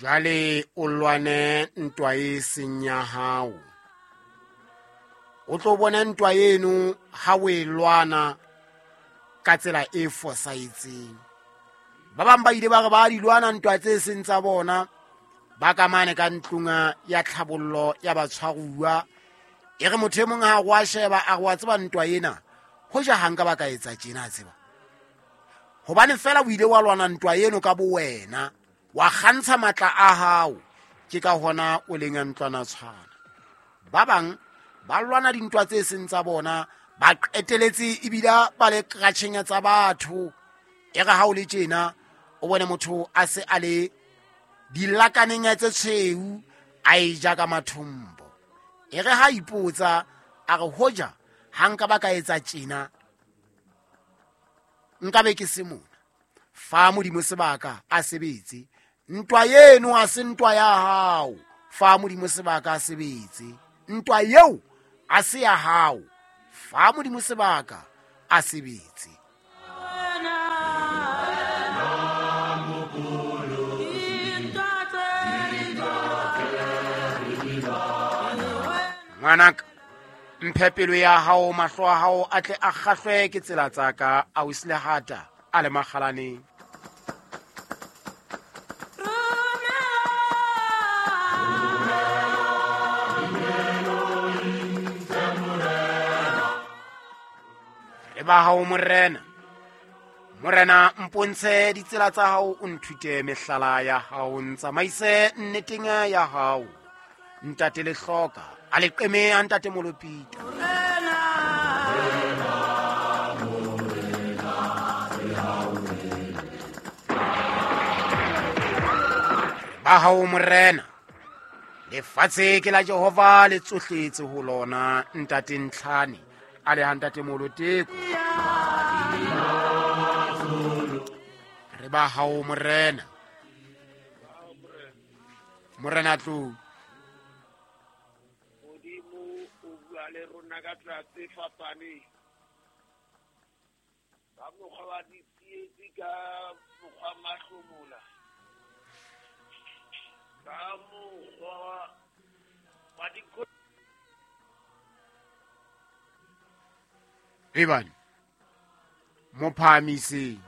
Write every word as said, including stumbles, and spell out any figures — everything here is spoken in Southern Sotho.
Jwale o lwane ntwa e seng ya hao. O tlo bona ntwa eno ha o e lwana ka tsela e fosahetseng. Ba bang ba ile ba re ba di lwana ntwa tse seng tsa bona, ba ka mane ka ntlong ya tlhabollo ya batshwaruwa. E re motho e mong ha wa sheba a re wa tseba ntwa ena, hoja ha nka ba ka etsa tjena tseba. Hobane fela o ile wa lwana ntwa eno ka bo wena, wa kgantsha matla a hao, ke ka hona o leng ntlwana tshwana. Ba bang ba lwana dintwa tse seng tsa bona, ba qeteletse ebile ba le kratjheng tsa batho. E re ha o le tjena, o bone motho a se a le dilakaneng tse tshweu, a e ja ka mathombo. E re ha ipotsa a re hoja ha nka ba ka etsa tjena, nka be ke se mona. Fa Modimo sebaka a sebetse. Ntwa eno ha se ntwa ya hao. Fa Modimo sebaka a sebetse. Ntwa eo ha se ya hao. Fa Modimo sebaka a sebetse. Ngwanaka, mphe pelo ya hao, mahlo a hao a tle a kgahlwe ke tsela tsa ka, a o silehata a le makgalaneng. Le ba hao Morena, Morena mpontshe ditsela tsa hao, o nthute mehlala ya hao, ntsamaise nneteng ya hao. Ntate Lehloka a le qeme a ntate Molopita. Ba hao Morena, lefatshe ke la Jehova le tsohle tse ho lona. Ntate Ntlhane a le ha ntate Moloteko. Re ba hao Morena, Morena tlo le rona ka tlatse fapaneng. Ka mokgwa wa ditsietsi, ka mokgwa mahlomola, ka mokgwa wa dikho. Ebane mo phahamiseng.